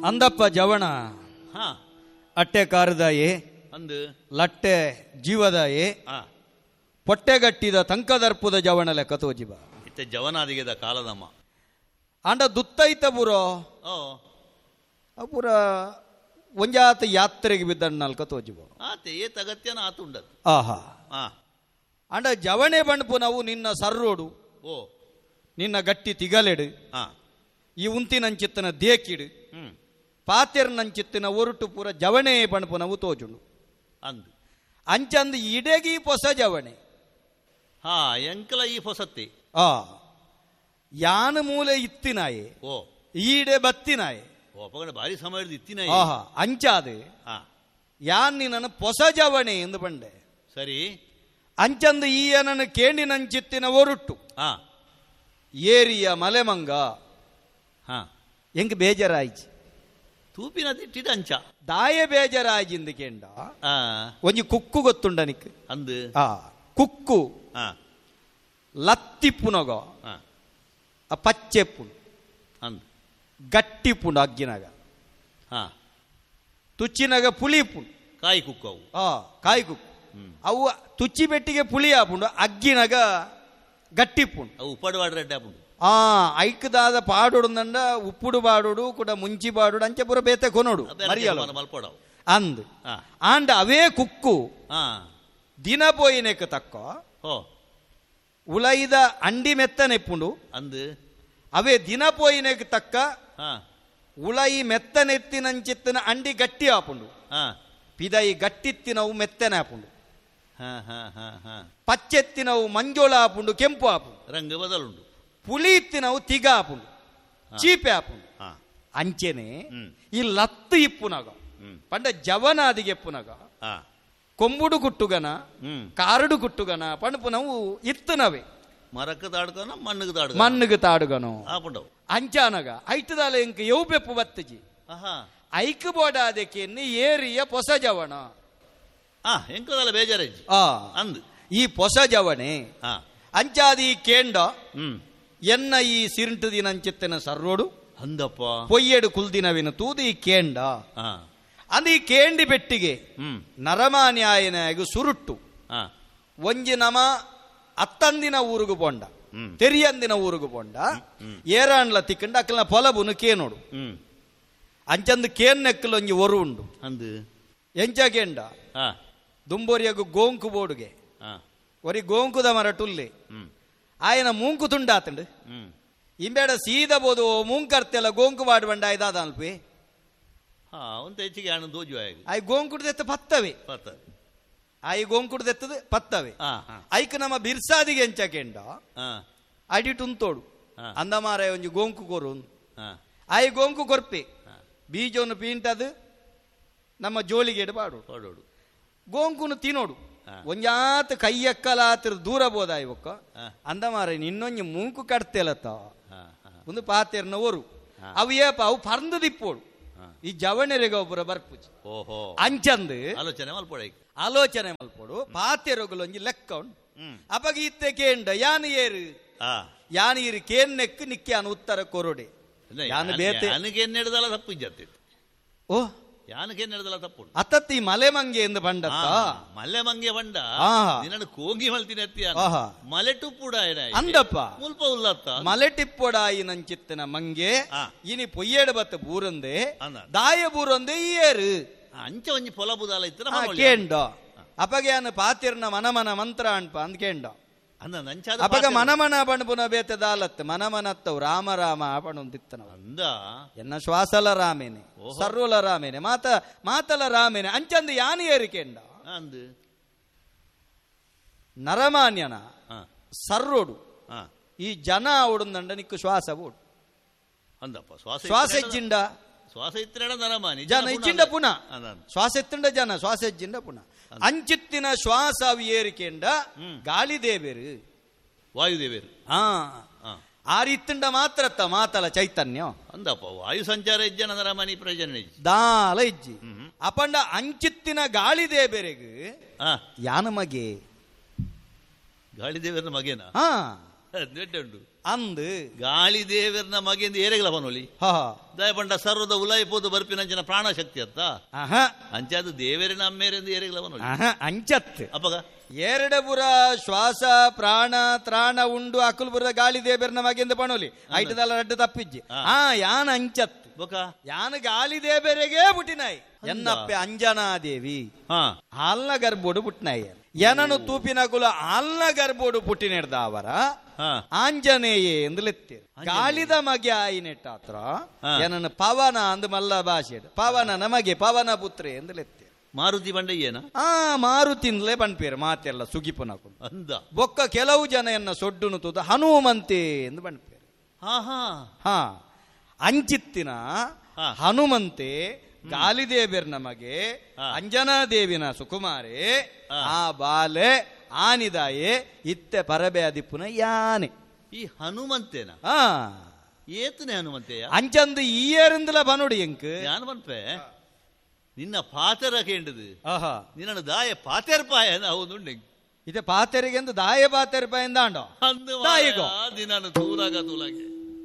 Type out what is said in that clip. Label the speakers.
Speaker 1: ಅಂದಪ್ಪ ಜವಣ ಅಟ್ಟೆ ಕಾರದಾಯೆ
Speaker 2: ಅಂದು
Speaker 1: ಲಟ್ಟೆ ಜೀವದಾಯೆ ಪೊಟ್ಟೆಗಟ್ಟಿದ ತಂಕದರ್ಪುದ ಜವಣ ಲೆಕ್ಕ ತೋಜಿಬ
Speaker 2: ಇತ್ತೆ ಜವನಾದಿಗೆದ ಕಾಲದಮ್ಮ
Speaker 1: ಅಂಡ ದುತ್ತೈತ ಪುರೋ ಪೂರ ಒಂಜಾತ ಯಾತ್ರೆಗೆ ಬಿದ್ದಣ್ಣ ತೋಜಿಬ
Speaker 2: ಆತೆ ಏತ್ ಅಗತ್ಯನ ಆತುಂಡದು.
Speaker 1: ಆಹಾ ಅಂಡ ಜವಣೆ ಬಣ್ಪು ನಾವು ನಿನ್ನ ಸರ್ರೋಡು
Speaker 2: ಓ
Speaker 1: ನಿನ್ನ ಗಟ್ಟಿ ತಿಗಲೆಡು ಈ ಉಂತಿನಂಚಿತ್ತನ ದೇಕಿಡು ಪಾತೆರ್ನಂಚಿತ್ತಿನ ಒರುಟು ಪೂರ ಜವಣೆ ಬಣ್ಪು ನಾವು ತೋಜುಂಡು
Speaker 2: ಅಂದು
Speaker 1: ಅಂಚಂದು ಇಡೆಗಿ ಪೊಸ ಜವಣೆ
Speaker 2: ಹಾ ಎಂಕಲ ಈ ಪೊಸತ್ತಿ
Speaker 1: ಆ ಯಾನ ಮೂಲೆ ಇತ್ತಿನಾಯೆ
Speaker 2: ಓ
Speaker 1: ಈಡೆ ಬತ್ತಿನಾಯೆ
Speaker 2: ಓ ಅಪಗಣ ಭಾರಿ ಸಮಯದ ಇತ್ತಿನಾಯೆ.
Speaker 1: ಆಹಾ ಅಂಚಾದು ಯಾನ್ ನಿನ್ನನ್ನು ಪೊಸ ಜವಣೆ ಎಂದು ಬಂಡೆ.
Speaker 2: ಸರಿ
Speaker 1: ಅಂಚಂದು ಈಯನನ್ನು ಕೇಂಡಿನಂಚಿತ್ತಿನ ಒರುಟ್ಟು ಏರಿಯ ಮಲೆಮಂಗ ಎಂಕ್ ಬೇಜಾರಾಯ್ಚಿ
Speaker 2: ತೂಪಿನ ತಿಟ್ಟಿದ ಅಂಚ
Speaker 1: ದಾಯ ಬೇಜಾರಾಯ್ಜಿಂದ ಕೇಂಡ ಒಂಜಿ ಕುಕ್ಕು ಗೊತ್ತುಂಡನಿಕ್
Speaker 2: ಅಂದು
Speaker 1: ಆ ಕುಕ್ಕು ಲತ್ತಿಪ್ಪುನಗ ಆ ಪಚ್ಚೆಪ್ಪುಂಡು
Speaker 2: ಅಂದು
Speaker 1: ಗಟ್ಟಿಪ್ಪುಂಡು ಅಗ್ಗಿನಾಗ ತುಚ್ಚಿನಾಗ ಪುಳಿಪುಂಡು
Speaker 2: ಕಾಯಿ ಕುಕ್ಕು ಅವು
Speaker 1: ಕಾಯಿ ಕುಕ್ಕು ಅವು ತುಚ್ಚಿ ಬೆಟ್ಟಿಗೆ ಪುಳಿ ಆಪುಂಡು ಅಗ್ಗಿನಾಗ ಗಟ್ಟಿಪ್ಪುಂಡು
Speaker 2: ಅವು ಉಪ್ಪಡು ರೆಡ್ಡೆ ಆಪುಂಡು.
Speaker 1: ಐಕ್ದಾದ ಪಾಡೋಡು ಉಪ್ಪುಡು ಬಾಡೋಡು ಕೂಡ ಮುಂಚಿ ಬಾಡೋಡು ಅಂಚೆ ಪೂರ ಬೇತೆ ಕೊನೋಡು ಮರಿಯಲ್ಲ
Speaker 2: ಮಲ್ಪಡವು
Speaker 1: ಅಂದ್ ಆಂಡ ಅವೇ ಕುಕ್ಕು ದಿನ ಪೋಯಿನೆಕ್ ತಕ್ಕ ಉಲೈದ ಅಂಡಿ ಮೆತ್ತನೆಪ್ಪುಂಡು
Speaker 2: ಅಂದು
Speaker 1: ಅವೇ ದಿನ ಪೋಯಿನೆಕ್ ತಕ್ಕ ಉಲೈ ಮೆತ್ತನೆತ್ತಿನಂಚಿತ್ತಿನ ಅಂಡಿ ಗಟ್ಟಿ ಆಪುಂಡು ಪಿದೈ ಗಟ್ಟಿತ್ತಿನವು ಮೆತ್ತನೆ ಆಪುಂಡು ಪಚ್ಚೆತ್ತಿನವು ಮಂಜೋಳ ಆಪುಂಡು ಕೆಂಪು ಆಪುಂಡು
Speaker 2: ರಂಗ ಬದಲುಂಡು
Speaker 1: ಪುಳಿ ಇತ್ತಿನವು ತಿಗ ಆಪುಂಡು ಚೀಪೆ ಆಪುಂಡು ಅಂಚೆನೆ ಈ ಲತ್ತು ಇಪ್ಪುನಗ ಪಂಡ ಜವನಾದಿಗೆ ಎಪ್ಪುನಗ ಕೊಂಬುಡು ಕುಟ್ಟುಗನ ಕಾರಡು ಕುಟ್ಟುಗನ ಪಂಡಪುನವು ಇತ್ತುನವೇ
Speaker 2: ಮರಕ್ಕೆ ತಾಡುಗನ ಮಣ್ಣಿಗೆ ತಾಡು
Speaker 1: ಮಣ್ಣಿಗೆ ತಾಡುಗನು
Speaker 2: ಆಪುಂಡವು
Speaker 1: ಅಂಚಾನಗ ಐತದಾಲ ಇಂಕ ಯವು ಬೆಪ್ಪು ಬತ್ತಜಿ ಐಕ್ ಬೋಡಾದಕ್ಕೆ ಏರಿಯ ಪೊಸ ಜವಣ
Speaker 2: ಎಂಕದಲ್ಲ ಬೇಜಾರಜ್ಜಿ ಅಂದು
Speaker 1: ಈ ಪೊಸ ಜವಣೆ ಅಂಚಾದಿ ಕೇಂಡ ಎನ್ನ ಈ ಸಿರಿಂಟು ದಿನಂಚಿತ್ತಿನ ಸರ್ರೋಡು
Speaker 2: ಅಂದಪ್ಪ
Speaker 1: ಪೊಯ್ಯಡು ಕುಲ್ದಿನವಿನ ತೂದು ಈ ಕೇಂಡ ಅಂದ ಈ ಕೇಂಡಿ ಬೆಟ್ಟಿಗೆ ನರಮಾನ್ಯಾಯನಾಗ ಸುರುಟ್ಟು ಒಂಜಿ ನಮ ಅತ್ತಂದಿನ ಊರುಗು ಪೋಂಡ ತೆರಿಯಂದಿನ ಊರುಗು ಪೋಂಡ ಏರಾಂಡ್ಲ ತಿಕ್ಕಂಡ ಅಕ್ಕಲ್ನ ಪೊಲಬುನು ಕೇನೋಡು ಅಂಚಂದು ಕೇನ್ ನೆಕ್ಕಲು ಒಂಜಿ ಒರು ಉಂಡು
Speaker 2: ಅಂದು
Speaker 1: ಎಂಚ ಕೇಂಡ ದುಂಬೋರಿಯಗು ಗೋಂಕು ಬೋಡುಗೆ ಒರಿ ಗೋಂಕುದ ಮರ ಟುಲ್ಲೆ ಆಯನ ಮೂಂಕು ತುಂಡಾತಂಡು ಇಂಬೇಡ ಸೀದ ಬೋದು ಮೂಂಕರ್ತೆಲ್ಲ ಗೋಂಕು ಬಾಡು ಬಂಡ ಆಯ್ದಾದ ಅಲ್ಪಿ
Speaker 2: ಹೆಚ್ಚಿಗೆ ಹಣ ದೋಜು
Speaker 1: ಆಯ್ ಗೋಂಕುಡ್ದೆತ್ತ ಪತ್ತವೆ ಆಯಿ ಗೋಂಕುಡ್ದೆತ್ತದ ಪತ್ತವೆ ಐಕ್ ನಮ್ಮ ಬಿರ್ಸಾದಿಗೆ ಎಂಚ ಕೇಂಡ ಅಡಿಟುಂತೋಡು ಅಂದ ಮಾರ ಒಂಜಿ ಗೋಂಕು ಕೊರು ಆಯಿ ಗೋಂಕು ಕೊರ್ಪೆ ಬೀಜವನ್ನು ಪೀಂಟದು ನಮ್ಮ ಜೋಳಿಗೆ ಬಾಡು ಗೋಂಕುನು ತಿನ್ನೋಡು ಒಂಜಾತ ಕೈಯಕ್ಕಲಾತ್ರ ದೂರ ಬೋದ ಇವಕ್ಕ ಅಂದ ಮಾರ ನಿನ್ನೊಂಜಿ ಮೂಂಕು ಕಟ್ತೆಲತ್ತ ಒಂದು ಪಾತೆರ್ನ ಒರು ಅವು ಏಪ ಅವು ಪರ್ಂದು ದಿಪ್ಪೋಡು ಈ ಜವಣೆರೆಗ ಒಬ್ಬರ ಬರ್ಪುಜಿ
Speaker 2: ಓಹೋ
Speaker 1: ಅಂಚಂದು
Speaker 2: ಆಲೋಚನೆ ಮಲ್ಪೊಡು
Speaker 1: ಆಲೋಚನೆ ಮಲ್ಪೊಡು ಪಾತೆರೊಗಲು ಒಂಜಿ ಲೆಕ್ಕ ಉಂಡು ಅಪಗ ಇತ್ತೆ ಕೇಂಡ ಯಾನು ಏರು ಯಾನು ಏರು ಕೇನ್ ನೆಕ್ಕು ನಿಕ್ಕೆ ಅನು ಉತ್ತರ ಕೊರೊಡೆ ಯಾನು ಬೇತೆ
Speaker 2: ಯಾನಕ್ಕೆ ತಪ್ಪು ಇಜ್ಜತ್ತೆ
Speaker 1: ಓ
Speaker 2: ಯಾನಕ್ಕೆ ನಡೆದಲ್ಲ ತಪ್ಪು
Speaker 1: ಅತ್ತತ್ತಿ ಮಲೆ ಮಂಗೆ ಎಂದು ಬಂಡತ್ತ
Speaker 2: ಮಲೆ ಮಂಗೆ ಬಂಡ ನಿನ್ನನ್ನು ಕೋಗಿ ಮಲ್ತಿನ ಅತ್ತಿಯ ಮಲೆ ಟುಪ್ಪುಡ
Speaker 1: ಅಂದಪ್ಪ
Speaker 2: ಮುಲ್ಪ ಉಲ್ಲತ್ತ
Speaker 1: ಮಲೆ ಟಿಪ್ಪುಡಾಯಿ ನಂಚಿತ್ತನ ಮಂಗೆ ಇನಿ ಪೊಯ್ಯೇಡು ಬತ್ತ ಬೂರಂದೆ ದಾಯ ಬೂರಂದೆ ಏರು
Speaker 2: ಅಂಚ ಒಂಜಿ ಪೊಲ ಬುದಾಲ ಇತ್ತು
Speaker 1: ಕೇಂಡ ಅಪಗೆ ಪಾತಿರ್ನ ಮನಮನ ಮಂತ್ರ ಅನ್ಪ ಅಂದ್ ಕೇಂಡ ಅಪಗ ಮನಮನ ಪಣಪುನ ಬೇತೆ ದಾಲತ್ ಮನಮನತ್ತವು ರಾಮ ರಾಮ ಪಣೊಂದಿತ್ತನ
Speaker 2: ಅಂದ
Speaker 1: ಎನ್ನ ಶ್ವಾಸಲ ರಾಮೇನೆ ಸರ್ವಲ ರಾಮೇನೆ ಮಾತ ಮಾತಲ ರಾಮೇನೆ ಅಂಚಂದು ಯಾನು ಏರಿಕೆಂಡ
Speaker 2: ಅಂದು
Speaker 1: ನರಮಾನ್ಯನ ಸರ್ರೋಡು ಈ ಜನ ಓಡುಂದಂಡ ನಿಕ್ಕು ಶ್ವಾಸ ಓಡು
Speaker 2: ಅಂದಪ್ಪ ಶ್ವಾಸ
Speaker 1: ಶ್ವಾಸ ಇಜ್ಜಿಂಡ
Speaker 2: ಶ್ವಾಸ ಇತ್ತಿನ ನರಮಾನಿ
Speaker 1: ಜನ ಇಜ್ಜಿಂಡ ಪುನಃ ಶ್ವಾಸ ಎತ್ತಂಡ ಜನ ಶ್ವಾಸ ಇಜ್ಜಿಂಡ ಪುನಃ ಅಂಚಿತ್ತಿನ ಶ್ವಾಸ ಏರಿಕೆಂಡ ಗಾಳಿ ದೇವೇರು
Speaker 2: ವಾಯುದೇವೇರು
Speaker 1: ಆ ರೀತಿಂಡ ಮಾತ್ರತ್ತ ಮಾತಲ ಚೈತನ್ಯ
Speaker 2: ಅಂದಪ್ಪ ವಾಯು ಸಂಚಾರ ಇಜ್ಜನ ನರಮಾನಿ ಪ್ರಯೋಜನ
Speaker 1: ದಾಲ ಇಜ್ಜಿ ಅಪಂಡ ಅಂಚಿತ್ತಿನ ಗಾಳಿ ದೇಬೇರೆಗ್ ಯಾನ ಮಗೆ
Speaker 2: ಗಾಳಿ ದೇವರ ಮಗೇನ ಉಂಡು
Speaker 1: ಅಂದ್
Speaker 2: ಗಾಳಿ ದೇವರ್ನ ಮಗೆಂದು ಏರೆಗಲ ಪನೋಲಿ. ದಯ ಪಂಡ ಸರ್ವದ ಉಲಾಯಿ ಪೋದು ಬರ್ಪಿನಂಚಿನ ಪ್ರಾಣ ಶಕ್ತಿ ಅತ್ತ. ಅಂಚಾದ ದೇವರಿನ ಅಮ್ಮೇರೆಂದು ಏರೆಗಲ ಪನೋಲಿ.
Speaker 1: ಅಂಚತ್ ಅಪ್ಪಗ ಎರಡಪುರ ಶ್ವಾಸ ಪ್ರಾಣ ತ್ರಾಣ ಉಂಡು ಅಕುಲ್ಪುರ ಗಾಳಿ ದೇವರ್ನ ಮಗೆಂದು ಪನೋಲಿ. ಐಟದಲ್ಲ ರಡ್ಡು ತಪ್ಪಿಜ್ಜಿ. ಆ ಯಾನ ಅಂಚತ್
Speaker 2: ಬೊಕ
Speaker 1: ಯಾನ ಗಾಳಿ ದೇವರಿಗೆ ಪುಟ್ಟಿನಾಯಿ. ಎನ್ನಪ್ಪೆ ಅಂಜನಾದೇವಿ ಆಲ್ನ ಗರ್ಭೋಡು ಪುಟ್ಟಿನಾಯಿ. ಎನನು ತೂಪಿನಕುಲು ಆಲ್ನ ಗರ್ಭೋಡು ಪುಟ್ಟಿನೆಡ್ದಾವರ ಆಂಜನೇಯೇ ಎಂದು ಲೆತ್ತೇರು. ಗಾಳಿದ ಮಗೆ ಆಯಿನೆಟ್ಟಾತ್ರ ಏನನ್ನು ಪವನ ಅಂದ್ ಮಲ್ಲ ಭಾಷೆ ಪವನ ನಮಗೆ ಪವನ ಪುತ್ರೆ ಎಂದು ಲೆತ್ತೇರು.
Speaker 2: ಮಾರುತಿ ಬಂಡಯ್ಯನ
Speaker 1: ಆ ಮಾರುತಿನ್ಲೇ ಪನ್ಪೇರು ಮಾತೆಲ್ಲ ಸುಗಿಪುನಕುಲು.
Speaker 2: ಅಂದ
Speaker 1: ಬೊಕ್ಕ ಕೆಲವು ಜನ ಎನ್ನ ಸೊಡ್ಡುನು ತೂದು ಹನುಮಂತೆ ಎಂದು ಪನ್ಪೇರು.
Speaker 2: ಹಾ
Speaker 1: ಹಾ ಅಂಚಿತ್ತಿನ ಹನುಮಂತೆ ಗಾಲಿದೇವಿಯರ್ ನಮಗೆ ಅಂಜನಾದೇವಿನ ಸುಕುಮಾರೆ ಆ ಬಾಲೆ ಆನಿದಾಯೆ ಇತ್ತೆ ಪರಬೆ ಅದಿಪ್ಪುನ ಯಾನೆ.
Speaker 2: ಈ ಹನುಮಂತೇನ ಏತನೆ ಹನುಮಂತೆಯ
Speaker 1: ಅಂಚಂದು ಈಯರಿಂದಲ ಬನುಡಿ ಎಂಕ್
Speaker 2: ಯಾನ್ ಪನ್ಪೆ ನಿನ್ನ ಪಾತೆರ ಕೇಂಡದು. ನಿನ್ನ ದಾಯ ಪಾತೆರ್ಪಾಯ ನಾವು
Speaker 1: ಇತ್ತೆ ಪಾತೆರಿಗೆ ಎಂದು ದಾಯ ಪಾತೆರ್ಪಾಯ ಎಂದಾಂಡೋ
Speaker 2: ದಾಯಿಗೋ ನಿನ್ನನ್ನು ತೂಲಾಗ ತೂಲಾಗೆ.